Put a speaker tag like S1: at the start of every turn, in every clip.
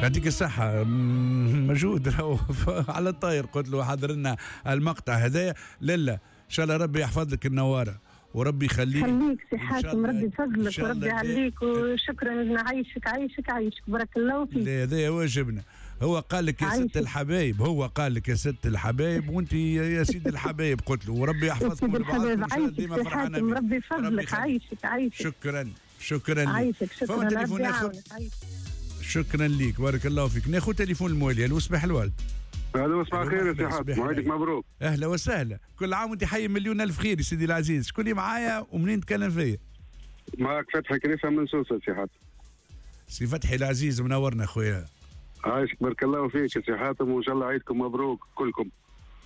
S1: يعطيك الصحة، مجهود راهو على الطاير. قلت له حضر لنا المقطع هذايا. لالا ان شاء الله ربي يحفظ لك النوارة وربي يخليك.
S2: خليك سي حاتم، ربي يفضلك وربي يعليك، وشكرا. عايشك عايشك عايشك، بارك الله فيك.
S1: هذا واجبنا. هو قال لك يا ست الحبايب، هو قال لك يا ست الحبايب وانت يا سيد الحبايب، قلت له وربي يحفظكم
S2: لبعضكم ديما فرحانة. ربي يفضلك، عايشك عايشك.
S1: شكرا شكرا
S2: عايشك، شكرا.
S1: فما تليفون اخر. شكرا ليك، بارك الله فيك. ناخذ تليفون الموالي. الو صباح الورد.
S3: الو صباح الخير يا سي حاتم، وعيدك مبروك.
S1: اهلا وسهلا، كل عام وانت حي مليون الف خير يا سيدي العزيز. شكون اللي معايا ومنين تكلم فيا؟
S3: معك فتحي كريفه من سوسة سي حاتم.
S1: سي فتحي العزيز منورنا خويا.
S3: عايشك، بارك الله فيك يا سي حاتم، وان شاء الله عيدكم مبروك كلكم.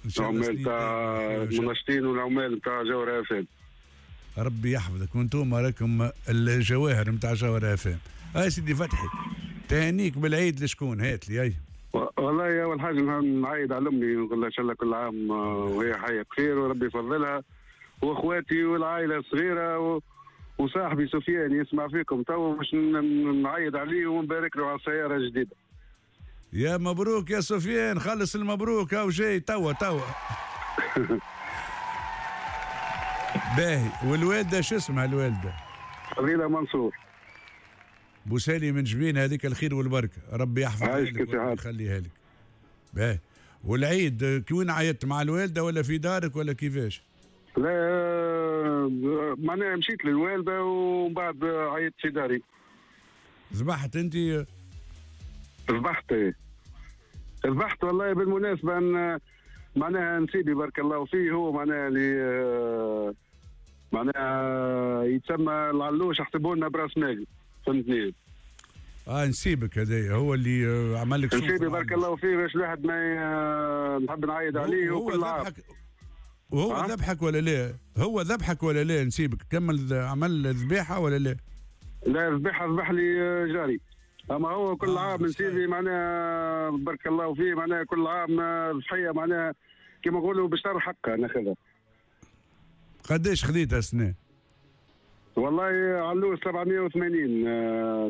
S1: ان شاء الله
S3: العمال تاع المنشطين والعمال تاع جوهرة اف ام.
S1: ربي يحفظك، وانتم راكم الجواهر نتاع جوهرة اف ام. اي سيدي فتحي، تهانيك بالعيد لشكون؟ هات لي. اي
S3: والله اول حاجة نعيد على امي ونقول لها ان شاء الله كل عام وهي حيه بخير وربي يفضلها، واخواتي والعائلة الصغيرة وصاحبي سفيان يسمع فيكم تو باش نعيد عليه ونبارك له على السيارة الجديدة.
S1: يا مبروك يا سفيان، خلص المبروك هاو جاي توا توا. باهي، والوالدة شو اسمها الوالدة؟
S3: فضيلة منصور.
S1: بوسالي من جبين، هذيك الخير والبركة، ربي يحفظها لك ويخليها لك. باهي، والعيد كوين عيطت مع الوالدة ولا في دارك ولا كيفاش؟
S3: لا معناها مشيت للوالده ومن بعد عيطت في داري.
S1: ذبحت انت؟
S3: ذبحت ذبحت والله. بالمناسبة ان معناها نسيبي بارك الله فيه، هو معناها اللي معناها يتسمى العلوش، حسبوا لنا براس مالي، فهمتني؟
S1: نسيبك هذايا هو اللي عمل لك.
S3: نسيبي بارك الله فيه، باش الواحد ما نحب نعيد عليه وكل عام.
S1: وهو ذبحك ولا لا؟ هو ذبحك ولا لا نسيبك؟ كمل عمل ذبيحة ولا لا؟
S3: لا ذبيحة ذبح لي جاري، اما هو كل عام نسيبي معناها بارك الله فيه، معناها كل عام ضحية، معناها كيما نقولوا باش ترى حقها ناخذها.
S1: قداش خذيتها السنة؟
S3: والله علوش 780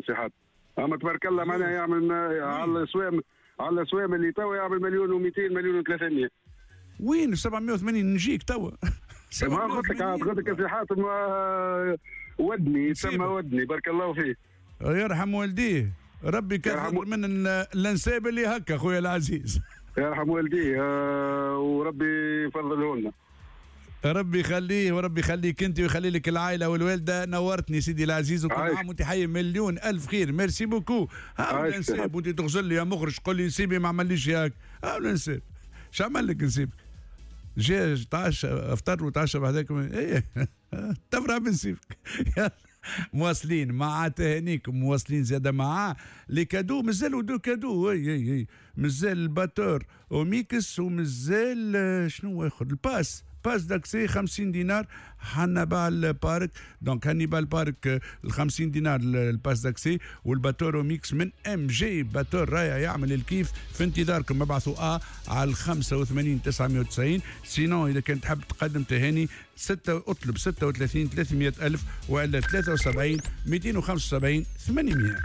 S3: سي حاتم، اما تبارك الله معناها يعمل على الاسوام، على الاسوام اللي توا يعمل 1,200,000 1,300,000.
S1: وين 780 نجيك توا؟
S3: ما قلت لك، قلت لك سي حاتم ودني، يتسمى ودني، بارك الله فيه.
S1: يرحم والديه، ربي كثر من الانساب اللي هكا خويا العزيز.
S3: يرحم والديه وربي يفضله لنا.
S1: ربي يخليه وربي يخليك انت ويخلي لك العائلة والوالدة. نورتني سيدي العزيز، وكل عام وانت حي مليون الف خير. merci beaucoup. ها الانساب وانت تغزل لي يا مخرج قول لي نسيبي ما عمليش هاك. ها الانساب شو عمل لك نسيبك؟ جا تعشى افطر وتعشى بعدك ايه تفرح بنسيبك. مواصلين مع تهانيكم، مواصلين زاده مع les cadeaux. مازالوا deux cadeaux، اي اي اي مازال ال batteur وميكس، ومازال شنو اخر، ال passe d'accès 50 دينار حنبال بارك. donc هانيبال بارك ال 50 دينار ال passe d'accès، وال batteur mix من ام جي، batteur رايع يعمل الكيف. في انتظاركم، ابعثوا على 85 990. sinon اذا كنت تحب تقدم تهاني اطلب 36 300 ألف وإلا 73 275 800.